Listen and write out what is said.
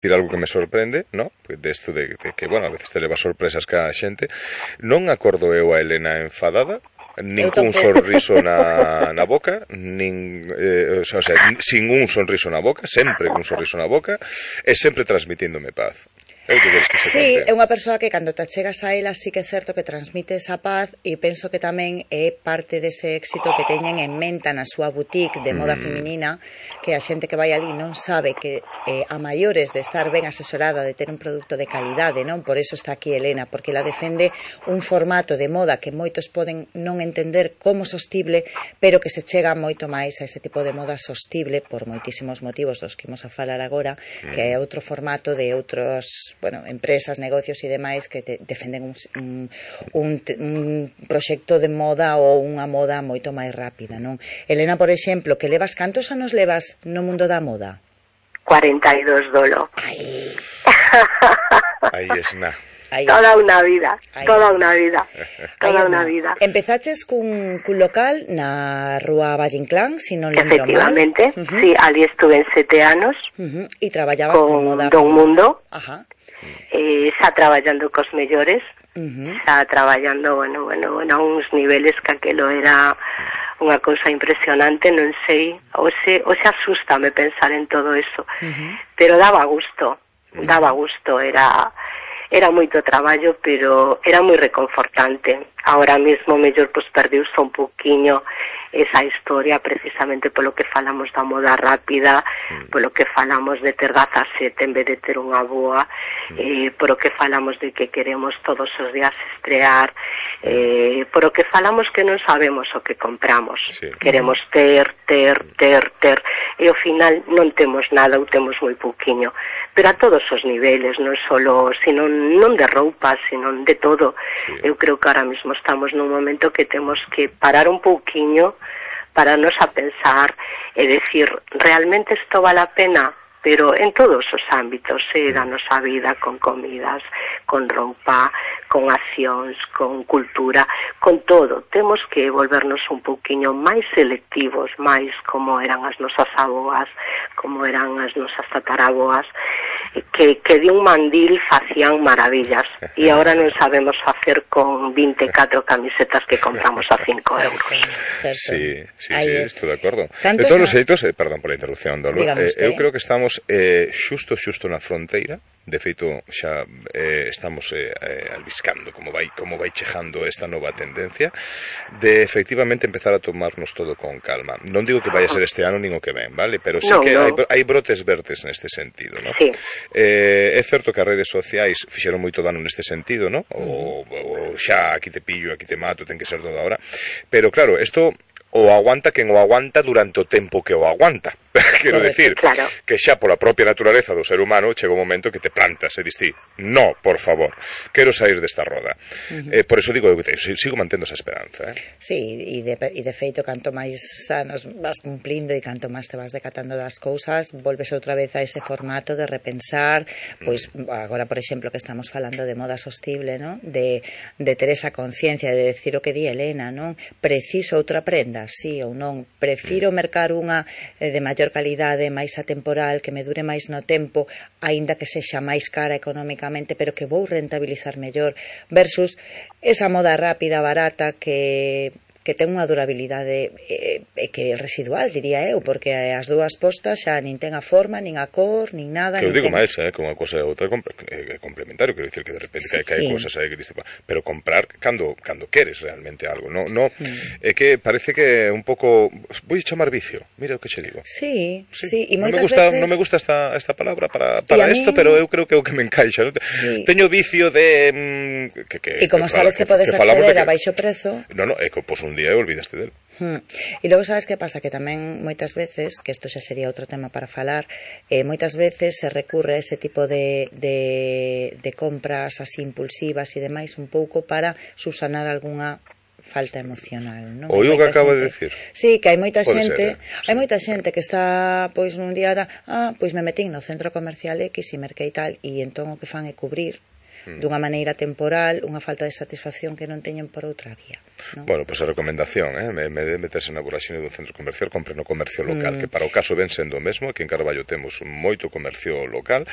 decir algo que me sorprende, ¿no? De esto de que, bueno, a veces te leva sorpresas que a xente. Non acordo eu a Elena enfadada, nin cun sorriso na boca, o sea, sin un sorriso na boca, sempre cun sorriso na boca, e sempre transmitíndome paz. Sí, é unha persoa que cando te chegas a ela sí que é certo que transmite esa paz, e penso que tamén é parte dese éxito que teñen en menta na súa boutique de moda feminina, que a xente que vai ali non sabe que a maiores de estar ben asesorada, de ter un produto de calidade, non? Por eso está aquí Elena, porque ela defende un formato de moda que moitos poden non entender como sostible, pero que se chega moito máis a ese tipo de moda sostible por moitísimos motivos dos que imos a falar agora, que é outro formato de outros, bueno, empresas, negocios e demais que defenden un proxecto de moda ou unha moda moito máis rápida, non? Elena, por exemplo, que levas, cantos anos levas no mundo da moda? 42 dolo. Aí es na. Toda unha vida, toda unha vida, toda unha vida. Empezaches cun local na rúa Valle Inclán, si non lembro mal. Efectivamente, sí, ali estuve en 7 anos. E traballabas con moda. Don Mundo. Ajá. Xa traballando cos mellores, xa traballando, bueno, a uns niveles que aquelo era unha cousa impresionante, non sei, o se asústame pensar en todo eso, pero daba gusto, era moito traballo, pero era moi reconfortante. Ahora mesmo mellor pois perdeuse un poquinho esa historia, precisamente polo que falamos da moda rápida, polo que falamos de ter 17 en vez de ter unha boa, polo que falamos de que queremos todos os días estrear, polo que falamos que non sabemos o que compramos, queremos ter, e ao final non temos nada ou temos moi pouquiño, pero a todos os niveles, non solo, non de roupa, sino de todo. Eu creo que ahora mesmo estamos nun momento que temos que parar un pouquiño para nos a pensar e decir, realmente isto vale a pena? Pero en todos os ámbitos da nosa vida, con comidas, con roupa, con accións, con cultura, con todo. Temos que volvernos un pouquiño máis selectivos, máis como eran as nosas aboas, como eran as nosas tataraboas, que de un mandil facían maravillas, e agora non sabemos facer con 24 camisetas que compramos a 5 euros. Sí, estou de acordo. De todos os xeitos, perdón por a interrupción, Dolo, eu creo que estamos xusto na fronteira. De feito, xa estamos albiscando como vai chegando esta nova tendencia de efectivamente empezar a tomarnos todo con calma. Non digo que vai a ser este ano nin o que ven, vale? Pero sí que hai brotes verdes neste sentido, ¿no? Sí. É certo que as redes sociais fixeron moito dano neste sentido, ¿no? O xa aquí te pillo, aquí te mato, ten que ser todo ahora. Pero claro, isto o aguanta quen o aguanta durante o tempo que o aguanta. Quero decir, que xa pola propia naturaleza do ser humano chega un momento que te plantas e distí, no, por favor, quero sair desta roda. Por eso digo que sigo mantendo esa esperanza. Sí, e de feito, canto máis anos vas cumplindo e canto máis te vas decatando das cousas, volves outra vez a ese formato de repensar, pois agora, por exemplo, que estamos falando de moda sostible, ¿no? De ter esa conciencia, de decir o que di Elena, non? Preciso outra prenda, sí ou non? Prefiro mercar unha de maior calidade, máis atemporal, que me dure máis no tempo, aínda que sexa máis cara económicamente, pero que vou rentabilizar mellor, versus esa moda rápida, barata, que ten unha durabilidade que é residual, diría eu, porque as dúas postas xa nin ten a forma, nin a cor, nin nada. Que eu digo máis, que unha cosa e outra é complementario, quero dicir que de repente hai cosas aí que diste, pero comprar cando queres realmente algo, no é que parece que un pouco vou chamar vicio, mira o que che digo. Sí, e moitas veces non me gusta esta palabra para isto, pero eu creo que é o que me encaixa, non? Teño vicio de e como sabes que podes acceder a baixo prezo. Non, é que pos un día e olvidaste del. E logo sabes que pasa, que tamén moitas veces, que isto xa sería outro tema para falar, moitas veces se recurre a ese tipo de compras así impulsivas e demais un pouco para subsanar algunha falta emocional, non? Oío que acabo de decir. Sí, que hai moita xente, que está pois nun día, pois me metín no centro comercial X e merquei tal, e entón o que fan é cubrir dunha maneira temporal unha falta de satisfacción que non teñen por outra vía, non? Bueno, pois a recomendación, me de meterse na voraxine dun centro comercial, compre no comercio local, que para o caso ven sendo o mesmo, que en Carballo temos moito comercio local,